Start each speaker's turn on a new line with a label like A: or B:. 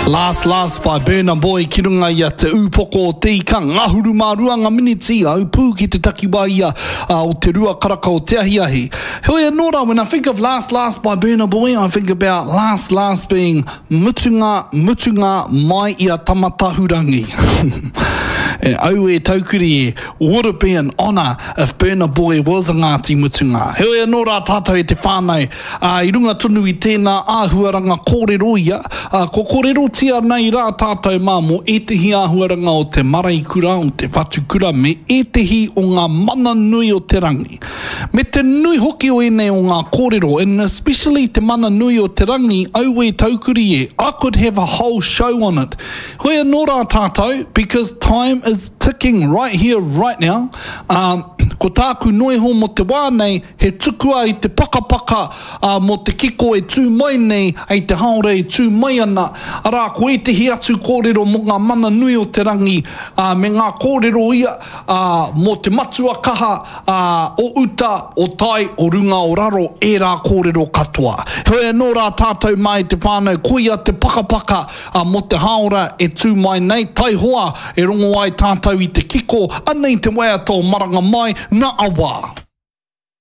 A: Last Last by Burna Boy ki runga i a Te Ūpoko o Te Ika, ngahuru mā rua ngā miniti, au pū ki te takiwā ia o te rua karaka o te ahiahi. Heoi anō rā, when I think of Last Last by Burna Boy, I think about Last Last being mutunga, mutunga mai i a Tamatahurangi. E, auē taukiri e, would it be an honour if Burna Boy was a Ngāti Mutunga? Heoi anō rā tātou e te whānau, Ā, i runga tonu i tēnā āhuaranga kōrero ia, ā, kua kōrerotia nei rā tātou mā mō ētehi āhuaranga o te maraikura, o te whatukura me ētehi o ngā mana nui o te rangi. Me te nui hoki o ēnei o ngā kōrero, and especially te mana nui o te rangi, auē taukuri e, I could have a whole show on it. Hoi anō rā tātou, because time is ticking right here, right now, ā, ko tāku noiho mō te wā nei, He tukua i te pakapaka, ā, mō te kiko e tū mai nei, hei te haora e tū mai ana, arā, ko ētehi atu kōrero mō ngā mana nui o te rangi, ā, me ngā kōrero ia, ā, mō te matua kaha, ā, o uta, o tai, o runga, o raro, ērā kōrero katoa. Heoi anō rā tātou mā e te whānau, koia te pakapaka, ā, mō te haora e tū mai nei, taihoa e rongo ai tātou i te kiko, anei te waiata o Maranga Mai, nā Awa.